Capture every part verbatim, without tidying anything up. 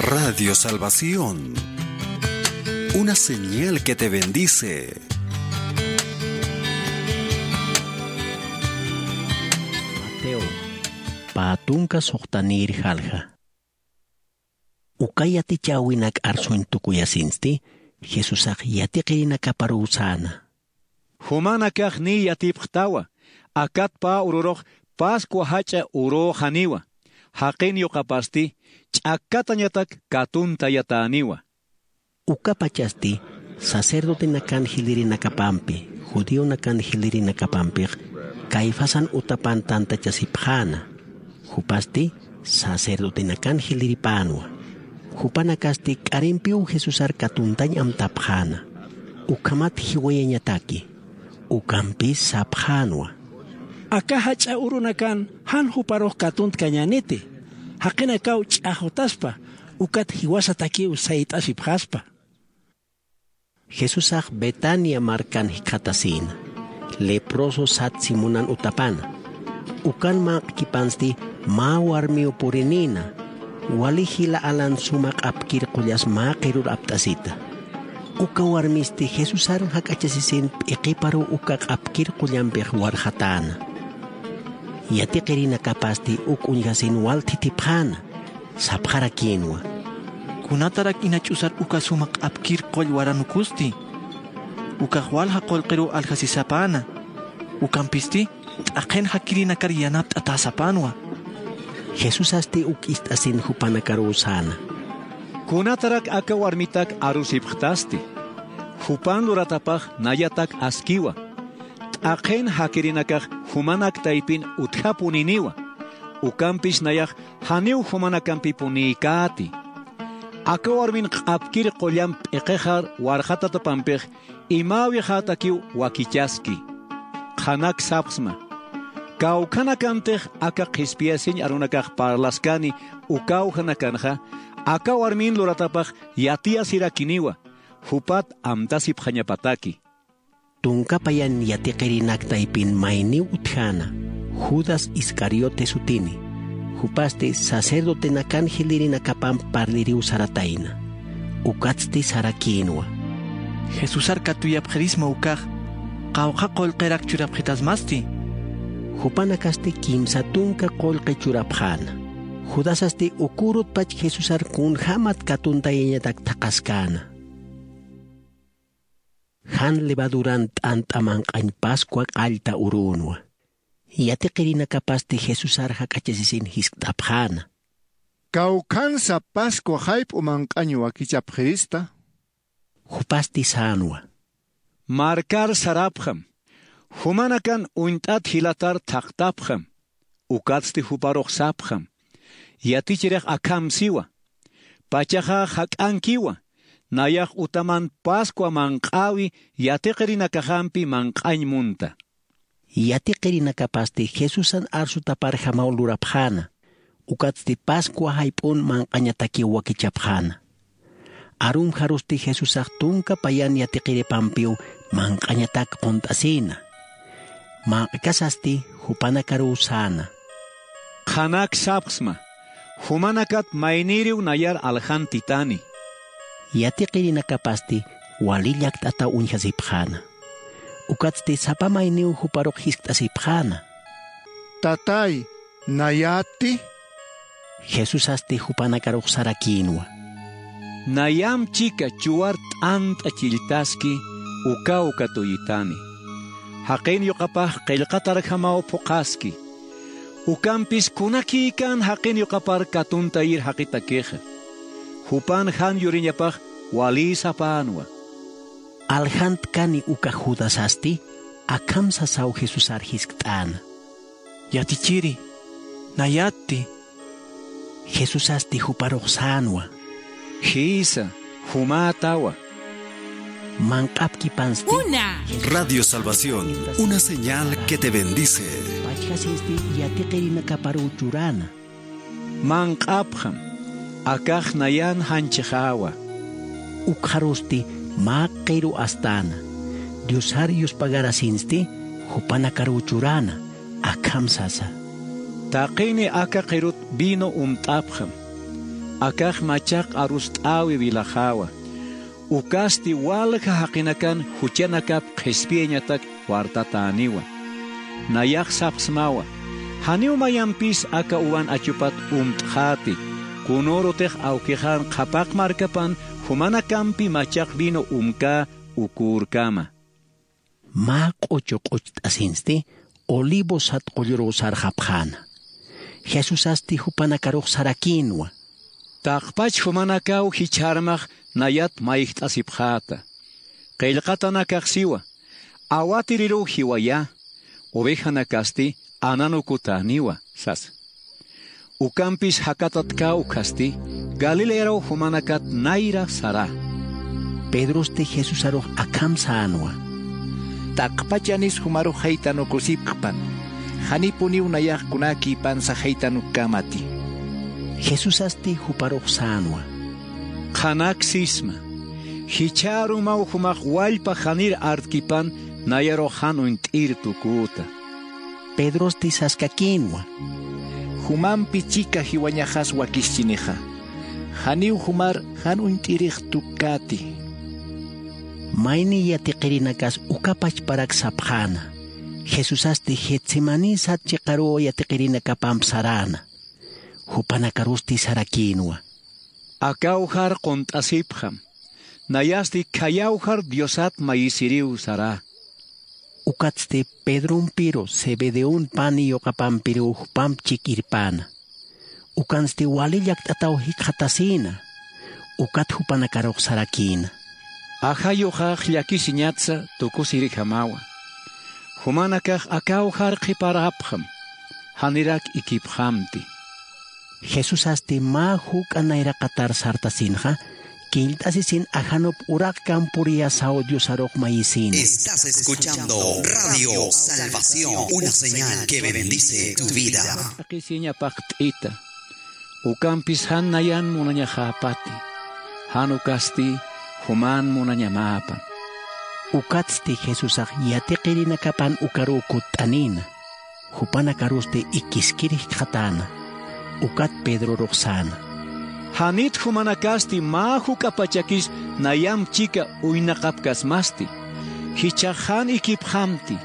Radio Salvación, una señal que te bendice. Mateo, pä tunka suxtanïr jalja. Uka yatichäwinak arsuñ tukuyasinsti, Jesusax yatiqirinakaparuw säna. Jumanakax niy yatipxtawa, akat pä ururux Pascua jach'a urüxaniwa, jaqin yuqapasti ch'akkatañatak katuntayatäniwa. Ukapachasti sacerdotenakan jilïrinakapampi, judionakan jilïrinakapampix Caifasan utapan tantachasipxäna. Jupasti sacerdotenakan jilïripänwa. Jupanakasti k'arimpiw Jesusar katuntañ amtapxäna. Ukhamat jiwayañataki. Ukampis sapxänwa: Aka jach'a urunakan jan juparux katuntkañäniti. Jaqinakaw ch'axutaspa, ukat jiwasatakiw sayt'asipxaspa. Jesusax Betania markan jikxatasïna, leproso sat Simonan utapana. Ukan manq'kipansti mä warmiw purinïna, wali jila alan suma q'apkir qullas mä qirur apt'asita. Uka warmisti Jesusar jak'achasisin p'iqiparuw uka q'apkir qullampix warxatäna. Yatiqirinakapasti uk uñjasin wal thithipxäna, sapxarakïnwa: ¿Kunatarak ina ch'usar uka suma q'apkir qull waranukusti? Ukax walja qullqiruw aljasisapäna. Ukampisti t'aqhin jakirinakar yanapt'atäsapänwa. Jesusasti uk ist'asin jupanakaruw säna: ¿Kunatarak aka warmitak arusipxtasti? Jupan luratapax nayatak askiwa. T'aqhin jakirinakax jumanak taypin utjapuniniwa. Ukampis nayax janiw jumanakampipunikäti. Aka warmin q'apkir qullamp p'iqixar warxatatapampix imäwixätakiw wakichaski. Qhanak sapxsma: Kawkhanakantix aka qhispiyasiñ arunakax parlaskani ukawjanakanxa, aka warmin luratapax yatiyasirakiniwa, jupat amtasipxañapataki. Tunka payan yatiqirinak taypin mayniw utjäna, Judas Iscariote sutini. Jupasti sacerdotenakan jilïrinakapamp parliriw saratayna. Ukatsti sarakïnwa: ¿Jesusar katuyapxirisma ukax, qawqha qullqirak churapxitasmasti? Jupanakasti kimsa tunka qullqi churapxäna. Judasasti ukürutpach Jesusar kunjämat katuntayañatak thaqhaskäna. Jan levaduran t'ant'a manq'añ Pascua qallta urünwa. Yatiqirinakapasti Jesusar jak'achasisin jiskt'apxäna: ¿Kawkhansa Pascua jayp'u manq'añ wakichapxirista? Jupasti sänwa: Markar sarapxam. Jumanakan uñt'at jilatar thaqtapxam. Ukatsti juparux sapxam: Yatichirix akham siwa. Pachaxax jak'ankiwa, nayax utaman Pascua manq'äwi yatiqirinakaxampi manq'añ munta. Yatiqirinakapasti Jesusan arsutaparjamaw lurapxäna, ukatsti Pascua jayp'un manq'añatakiw wakichapxäna. Arumxarusti Jesusax tunka payan yatiqiripampiw manq'añatak qunt'asïna. Manq'kasasti jupanakaruw säna: Qhanak sapxsma, jumanakat maynïriw nayar aljantitani. Yatiqirinakapasti wali llakt'ataw uñjasipxäna. Ukatsti sapa mayniw juparux jiskt'asipxäna: Tatay, ¿nayätti? Jesusasti jupanakarux sarakïnwa: Nayamp chika chuwar t'ant'a chilltaski, ukaw katuyitani. Jaqin yuqapax qillqatarjamaw phuqhaski. Ukampis kunakïkan jaqin yuqapar katuntayir jaqitakixa. Jupan jan yuriñapax walï sapänwa. Aljantkani uka Judasasti akham sasaw Jesusar jiskt'äna: Yatichiri, ¿nayätti? Jesusasti juparux sänwa: Jïsa, jumätawa. Manq'apkipansti. Una. Radio Salvación, una señal que te bendice. Pachjasisti yatiqirinakaparuw churäna. Manq'apxam, akax nayan janchixäwa. Ukxarusti mä qiru astäna, Diosar yuspagarasinsti jupanakaruw churäna, akham sasa: Taqini aka qirut vino umt'apxam. Akax machaq arust'äwi wilaxäwa. Ukasti walja jaqinakan juchanakap qhispiyañatak wartatäniwa. Nayax sapxsmawa: Janiw mayampis aka uwan achupat umt'xäti, kunürutix awkixan qhapaq markapan jumanakampi machaq vino umkä ukürkama. Mä q'uchu q'ucht'asinsti Olivos sat qulluruw sarxapxäna. Jesusasti jupanakarux sarakïnwa: Taqpach jumanakaw jichharmax nayat mayjt'asipxäta. Qillqatanakax siwa: Awatiriruw jiwayä, ovejanakasti ananukutäniwa, sasa. Ukampis jakatatkä ukhasti Galilearaw jumanakat nayra sarä. Pedrosti Jesusarux akham sänwa: Taqpachanis jumarux jaytanukusipxpan, janipuniw nayax kunäkïpansa jaytanukkämati. Jesusasti juparux sänwa: Qhanaksisma, jichhärumaw jumax wallpa janir artkipan nayarux jan uñt'ir tuküta. Pedrosti saskakïnwa: Jumampi chika jiwañaxas wakischinixa, janiw jumar jan uñt'irix tukkäti. Mayni yatiqirinakas ukapachparak sapxäna. Jesusasti Getsemaní sat chiqaruw yatiqirinakapamp saräna. Jupanakarusti sarakïnwa: Akawjar qunt'asipxam, nayasti khayawjar Diosat mayisiriw sarä. Ukatsti Pedrompiru Zebedeon pani yuqapampiruw jupamp chik irpäna. Ukansti wali llakt'ataw jikxatasïna. Ukat jupanakarux sarakïna: Ajayuxax llakisiñatsa tukusirjamawa. Jumanakax akawjar qhiparäpxam, janirak ikipxamti. Jesusasti mä juk'a nayraqatar sartasinxa, killt'asisin ajanup uraqkamp puriyasaw Diosarux mayisïna. Estás escuchando Radio Salvación, una señal que bendice tu vida. Taqisiña paqt'ita, ukampis jan nayan munañaxäpati, jan ukasti juman munañamäpan. Ukatsti Jesusax yatiqirinakapan ukaruw kutt'anïna. Jupanakarusti ikiskir jikxatäna. Ukat Pedrorux säna: Janit jumanakasti mä juk'apachakis nayamp chika uynaqapkasmasti. Jichhax jan ikipxamti,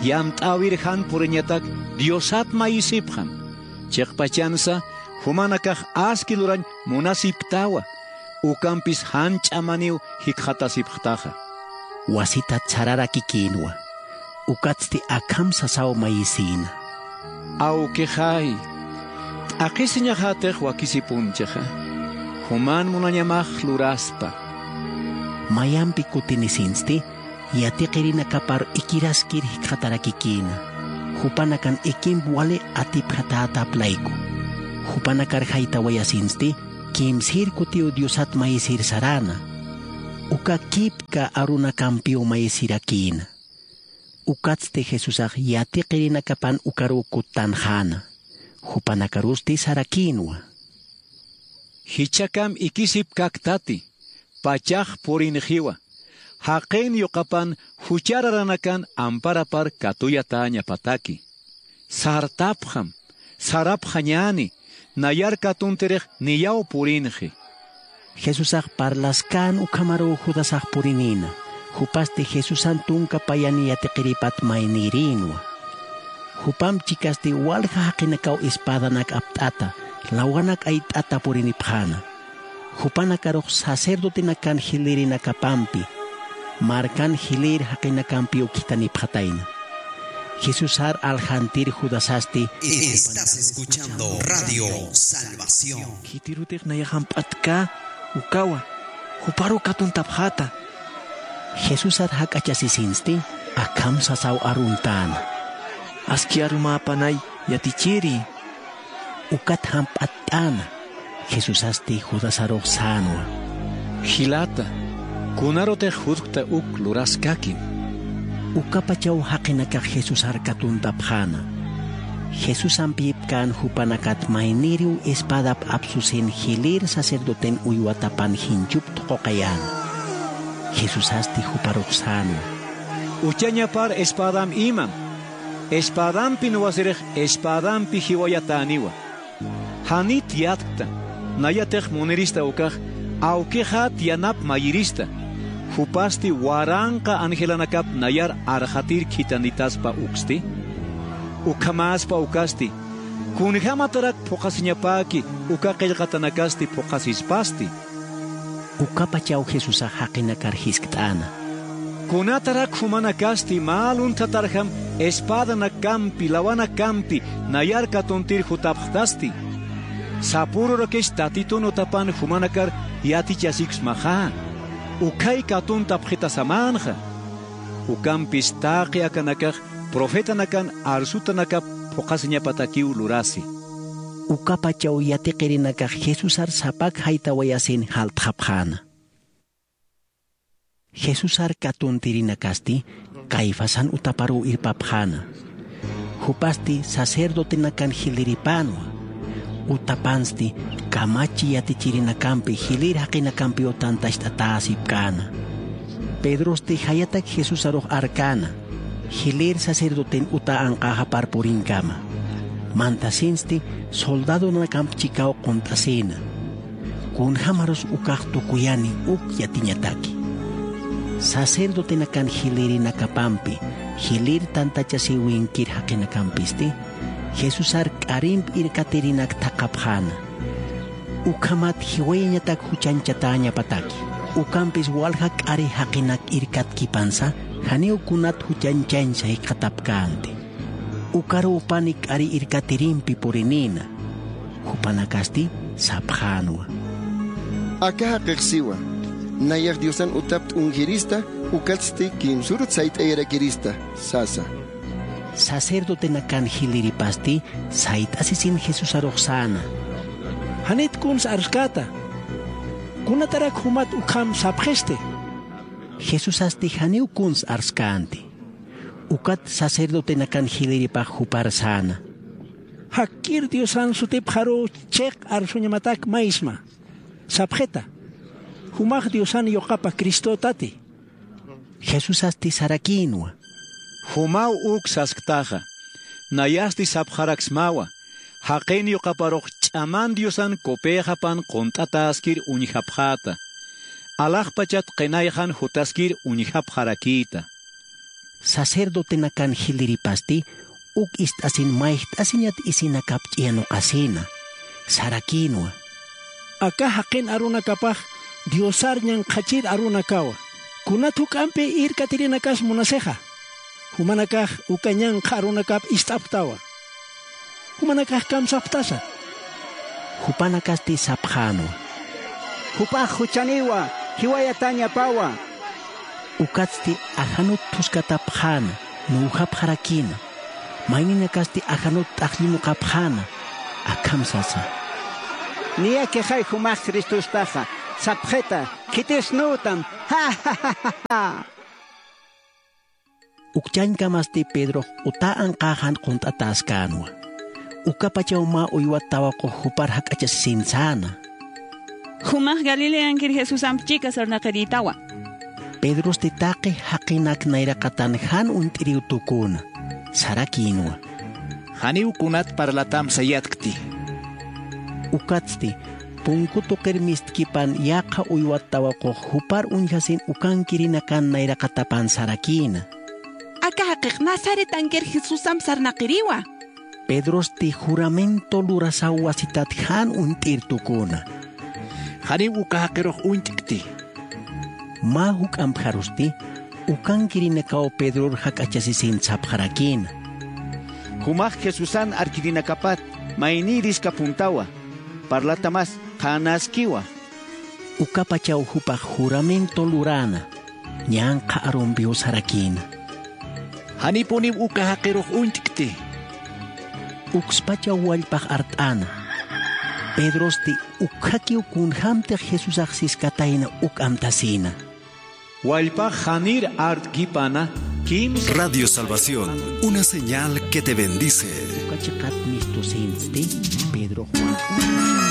yamt'äwir jan puriñatak Diosat mayisipxam. Chiqpachansa jumanakax aski lurañ munasipktawa, ukampis jan ch'amaniw jikxatasipxtaxa. Wasitat sararakikïnwa. Ukatsti akham sasaw mayisïna: Awkixay, t'aqhisiñaxätix wakisipunchixa, juman munañamax luraspa. Mayampi kutinisinsti yatiqirinakapar ikiraskir jikxatarakikïna. Jupanakan ikimp wali atipjatätap layku. Jupanakar jaytawayasinsti kimsïr kutiw Diosat mayisir saräna. Uka kipka arunakampiw mayisirakïna. Ukatsti Jesusax yatiqirinakapan ukaruw kuttanxäna. Jupanakarusti sarakïnwa: Jichhakam ikisipkaktati, pachax purinxiwa, jaqin yuqapan juchararanakan amparapar katuyatäñapataki. Sartapxam, sarapxañäni, nayar katuntirix niyaw purinxi. Jesusax parlaskän ukhamaruw Judasax purinïna, jupasti Jesusan tunka payan yatiqiripat maynïrïnwa. Jupamp chikasti walja jaqinakaw espädanak apt'ata, lawanak ayt'ata purinipxäna. Jupanakarux sacerdotenakan jilïrinakapampi, markan jilïr jaqinakampiw khitanipxatayna. Jesusar aljantir Judasasti: Estás escuchando Radio Salvación. Khitirutix nayax jamp'atkä ukawa, juparuw katuntapxäta. Jesusar jak'achasisinsti akham sasaw aruntäna: Aski arumäpanay, yatichiri. Ukat jamp'attäna. Jesusasti Judasarux sänwa: Jilata, kunarutix jutkta uk luraskakim. Ukapachaw jaqinakax Jesusar katuntapxäna. Jesusamp yipkän jupanakat maynïriw espadap apsusin jilïr sacerdoten uywatapan jinchup thuquqayäna. Jesusasti juparux sänwa: Uchañapar espadam imam. Espadampi nuwasirix espadampi jiwayatäniwa. Janit yatkta, Nayatix munirista ukax awkixat yanap mayirista. Jupasti waranqa angelanakap nayar arxatir khithanitaspa uksti. Ukhamäspa ukasti: Kunjämatarak phuqhasiñapäki uka qillqatanakasti phuqhasispasti. Ukapachaw Jesusax jaqinakar jiskt'äna: Kunatarak jumanakasti mä lunthatarjam espädanakampi, lawanakampi nayar katuntir jutapxtasti. Sapürurakis Tatitun utapan jumanakar yatichasiksmaxa, ukhay katuntapxitasamänxa. Ukampis taqi akanakax profetanakan arsutanakap phuqhasiñapatakiw lurasi. Ukapachaw yatiqirinakax Jesusar sapak jaytawayasin jaltxapxäna. Jesusar katuntirinakasti Caifasan utaparuw irpapxäna. Jupasti sacerdotenakan jiliripänwa. Utapansti kamachi yatichirinakampi jilir jaqinakampiw tantacht'atäsipkäna. Pedrosti jayatak Jesusarux arkäna, jilïr sacerdoten uta anqäxapar purinkama. Mantasinsti soldadonakamp chikaw qunt'asïna. Kunjämarus ukax tukuyani uk yatiñataki. Sacerdotenakan jilïrinakapampi, jilïr tantachasiwinkir jaqinakampisti, Jesusar k'arimp irkatirinak thaqhapxäna. Ukhamat jiwayañatak juchañchatäñapataki. Ukampis walja k'ari jaqinak irkatkipansa, janiw kunat juchañchañsa jikxatapkänti. Ukarupani k'ari irkatirimpi purinïna. Jupanakasti sapxänwa: Aka jaqix siwa, nayax Diosan utap t'unjirista, ukatsti kimsürut sayt'ayarakirista, sasa. Sacerdotenakan jiliripasti sayt'asisin Jesusarux säna: Janit kuns arskäta. Kunatarak jumat ukham sapxisti. Jesusasti janiw kuns arskänti. Ukat sacerdotenakan jiliripax jupar säna: Jakkir Diosan sutipxaruw chiq arsuñamatak maysma. Sapxita: Jumax Diosan yuqapa Cristotati. Jesusasti sarakïnwa: Jumaw uk sasktaxa. Nayasti sapxaraksmawa, jaqin yuqaparux ch'aman Diosan kupïxapan qunt'atäskir uñjapxäta. Alaxpachat qinayxan jutaskir uñjapxarakïta. Sacerdotenakan jiliripasti uk ist'asin mayjt'asiñat isinakap ch'iyanuqasïna, sarakïnwa: Aka jaqin arunakapax Diosar ñanqhachir arunakawa. Kunat juk'ampi irkatirinakas munasixa, jumanakax uka ñanqha arunakap ist'apxtawa. Jumanakax kamsapxtasa. Jupanakasti sapxänwa: Jupax juchaniwa, jiwayatäñapawa. Ukatsti ajanut phuskatapxäna, nuwjapxarakïna. Mayninakasti ajanut t'aqllinuqapxäna, akham sasa: Niyakixay jumax Cristostaxa, sapxita, khitisnütam. Ukchañkamasti Pedrox uta anqäxan qunt'atäskänwa. Ukapachaw mä uywat tawaqux jupar jak'achasisin säna: Jumax Galileankir Jesusamp chika sarnaqirïtawa. Pedrosti taqi jaqinak nayraqatan jan uñt'iriw tuküna, sarakïnwa: Janiw kunat parlatam sayatkti. Ukatsti, punku tuqir mistkipan yaqha uywat tawaqux jupar uñjasin ukankirinakan nayraqatapan sarakïna: Aka jaqix Nazaretankir Jesusamp sarnaqiriwa. Pedrosti juramento lurasaw wasitat jan uñt'ir tuküna: Janiw uka jaqirux uñt'kti. Mä juk'ampjarusti, ukankirinakaw Pedror jak'achasisin sapxarakïna: Jumax Jesusan arkirinakapat maynïriskapuntawa, parlatamas qhänäskiwa. Ukapachaw jupax juramento luräna, ñanqha arumpiw sarakïna: Janipuniw uka jaqirux uñt'kti. Ukspachaw wallpax art'äna. Pedrosti ukkhakiw kunjämtix Jesusax siskatayna uk amtasïna. Wallpax janir art'kipana kimsa. Radio Salvación, una señal que te bendice. Uka chiqat mistusinsti Pedro Juan.